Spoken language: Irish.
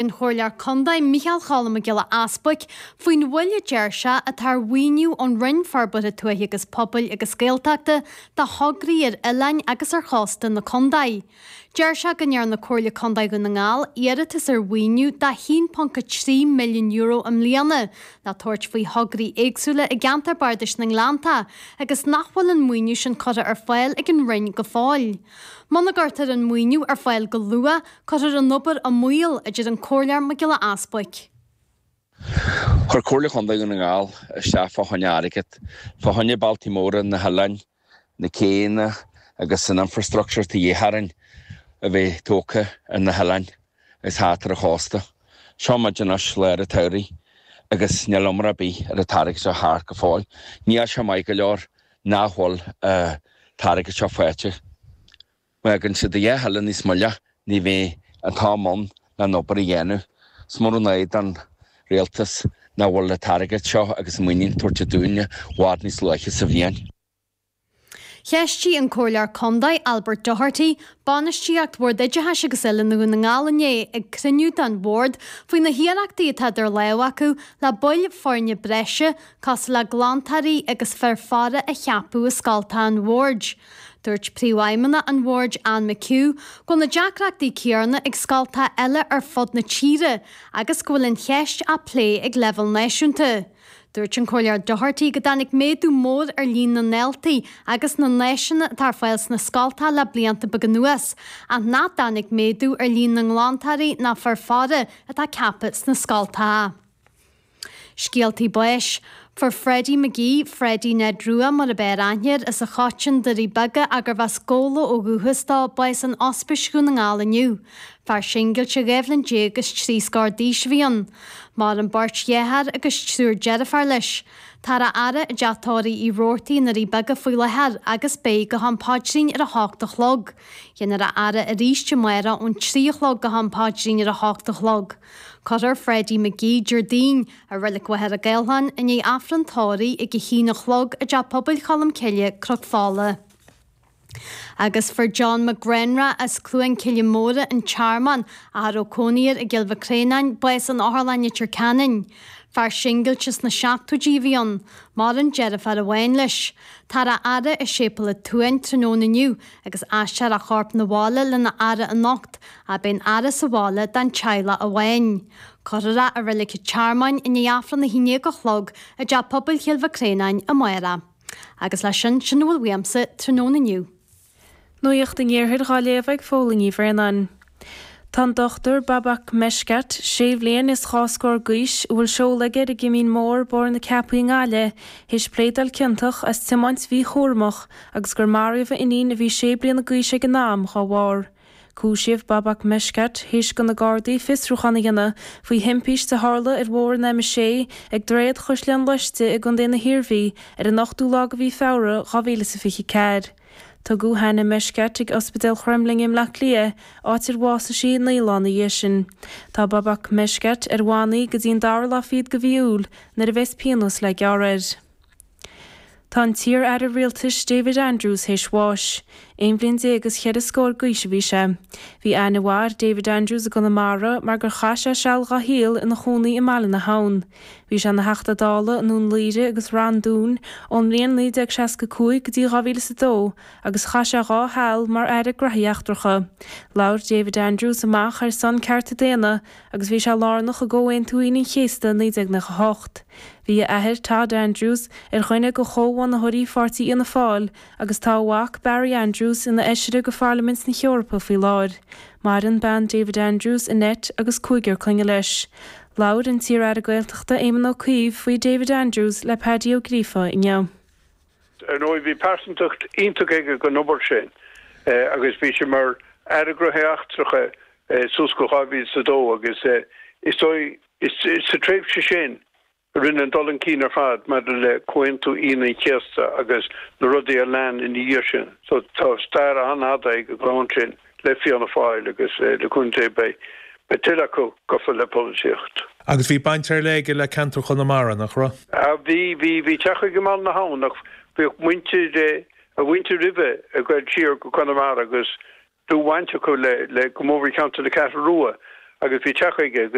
An Comhairleoir Contae Micheál Cholm Mac Giolla Easbuic faoin mhoill a deir sé atá ar mhaoiniú ón Roinn Forbartha Tuaithe agus Pobail agus Gaeltachta do thograí ar oileáin agus ar chósta na contae. Deir sé go ndearna Comhairle Contae Dhún na nGall iarratas ar mhaoiniú de €1.3 milliún i mbliana le tabhairt faoi thograí éagsúla i gceantar Bardais na nGleanntach agus nach bhfuil an maoiniú sin curtha ar fáil ag an Roinn go fóill. Muna gcuirtear an maoiniú ar fáil go luath, Cuirfear an obair i mbaol, a deir an Comhairleoir Mac Giolla Easbuic. Chuir Comhairle Chontae Dhún na nGall isteach fá choinne airgead fá choinne bealtaí móra na hoileáin, na céanna agus an infrastructure atá de dhíth orainn a bheith tógtha ar na hoileáin agus thart ar an chósta. Seo muid anois lár an tsamhraidh agus níl iomrá ar bith ar an t-airgead seo thart go fóill. Níl sé maith go leor nach bhfuil an t-airgead seo faighte. Má fhágann siad a dhath eile níos moille ní bheidh an t-am ann le an obair a dhéanamh. Is mór an ádh don Rialtas nach bhfuil an t-airgead seo agus an maoiniú tabhairt dúinne i bhfad níos luaithe sa bhliain. Cheistigh an Comhairleoir Contae Albert Doherty bainistíocht Bhord Oideachais agus Oiliúna Dhún na nGall inné ag cruinniú den Bhord faoi na hiarrachtaí atá idir lámha acu le baill foirne breise cosúil le glantóirí agus fir faire a cheapadh i scoltacha an Bhoird. Dúirt Príomhfheidhmeannach an Bhoird Anne McHugh go bhfuil na deacrachtaí céanna ag scoltacha eile ar fud na tíre agus go bhfuil an cheist á plé ag leibhéal náisiúnta. Dúirt an Comhairleoir Doherty go dtáinig méadú mór ar líon na ndaltaí agus na n-áiseanna atá ar fáil sna scoltacha le blianta beaga anuas ach nach dtáinig méadú ar líon na nglantóirí ná fir faire atá ceaptha sna scoltacha. Scéaltaí báis. Fuair Freddie McGee, Freddie Ned Rua mar ab fhearr aithne air, as an Choiteann, Doirí Beaga, ach gurbh as Gabhla ó dhúchas dó, bás in Ospís Dhún na nGall inniu. Fear singilte 12 bhliain is trí scór d'aois a bhí ann. Maireann beirt dheartháir agus triúr deirféar leis. Táthar á fhaire i dteach tórraimh Uí Robhartaigh i nDoirí Beaga faoi láthair agus beidh go ham paidrín ar a hocht a chlog. Déanfar a fhaire arís amárach ón 3 a chlog go ham paidrín ar a hocht a chlog. Cuirfear Freddie McGee Déardaoin i Reilig Mhachaire Gathlán i ndiaidh Aifreann tórraimh ag 1 a chlog i dTeach Pobail Cholm Cille, Cnoc Fola. Agus fuair John McGrenra as Cluain Cille Móire, An Tearmann, ach a raibh cónaí air i gCill Mhic Réanáin, bás in Otharlann Leitir Ceanainn. Fear singilte sna seachtóidí a bhí ann. Maireann deirfiúr amháin leis. Táthar á fhaire i Séipéal an tSuain tráthnóna inniu agus aistreofar a chorp 'na bhaile lena fhaire anocht, ach beidh an fhaire sa bhaile don teaghlach amháin. Cuirfear é i Reilig an Tearmainn i ndiaidh Aifreann 11 a chlog i dTeach Pobail Chill Mhic Réanáin amárach. Agus leis sin, sin a bhfuil uaimse tráthnóna inniu. Nuacht an Iarthair dhá léamh ag Fódhla Ní Bhraonáin. Tá an Dr Babak Meshkat, sé bhliain is dhá scór d'aois, a bhfuil seoladh aige ar an gCimín Mór, Bóthar na Ceapaí i nGaillimh, théis pléadáil ciontach as tiomáint mhíchúramach agus gur maraíodh a iníon a bhí sé bliana d'aois ag an am dhá bharr. Cúisíodh Babak Meshkat théis do na Gardaí fiosrúchán a dhéanamh faoi thimpiste a tharla ar bhóthar an M6 ag Droichead Chaisleán Loiste i gContae na hIarmhí ar an ochtú lá de mhí Feabhra 2024. Tugadh Hannah Meshkat chuig Ospidéal Chromghlinne i mBleá Cliath, áit ar bhásaigh sí 9 lá ina dhiaidh sin. Tá Babak Meshkat ar bhannaí go dtí an dara lá fichead de mhí Iúil, nuair a bheas pionós le gearradh air. Tá an t-iar-aire rialtais David Andrews théis bháis. Aon bhliain déag is cheithre scór d'aois a bhí sé. Bhí aithne mhaith ar David Andrews i gConamara mar gur chaith sé seal dá shaol ina chónaí i mBaile na hAbhann. Bhí sé ina Theachta Dála i nDún Laoghaire agus Rann Dúin ón mbliain 1965 go dtí 2002 agus chaith sé dhá sheal mar Aire Graithí Eachtracha. Labhair David Andrews amach ar son cearta daonna agus bhí sé lárnach i gComhaontú Aoine an Chéasta 1998. Bhí a athair, Todd Andrews, ar dhuine de chomhbhunaitheoirí pháirtí Fhianna Fáil agus tá a mhac, Barry Andrews, ina fheisire de Pharlaimint na hEorpa faoi láthair. Maireann bean David Andrews, Annette, agus cúigear clainne leis. Labhair an t-iar-aire Gaeltachta Éamon Ó Cuív faoi David Andrews le Paddy Ó Gríofa inniu. Ar ndóigh, bhí pearsantacht iontach aige don obair sin agus bhí sé mar Aire Gnóthaí Eachtracha suas go 2002 agus is dóigh sa tréimhse sin a rinneadh an dul chun cinn ar fad maidir le Comhaontú Aoine an Chéasta agus na rudaí a lean ina dhiaidh sin. So tá stair an-fhada ag an gclann sin le Fianna Fáil agus le cúnamh Dé beidh tuilleadh acu gafa le polaitíocht. Agus bhí baint ar leith aige le ceantar Chonamara, nach raibh? Ah bhí, bhí, bhí teach aige i mBaile na hAbhann ach bhíodh muintir, a mhuintir roimhe ag goil siar go Conamara agus dlúthbhaint acu le, le go mór mhór ceantar na Ceathrún Rua. Agus bhí teach aige.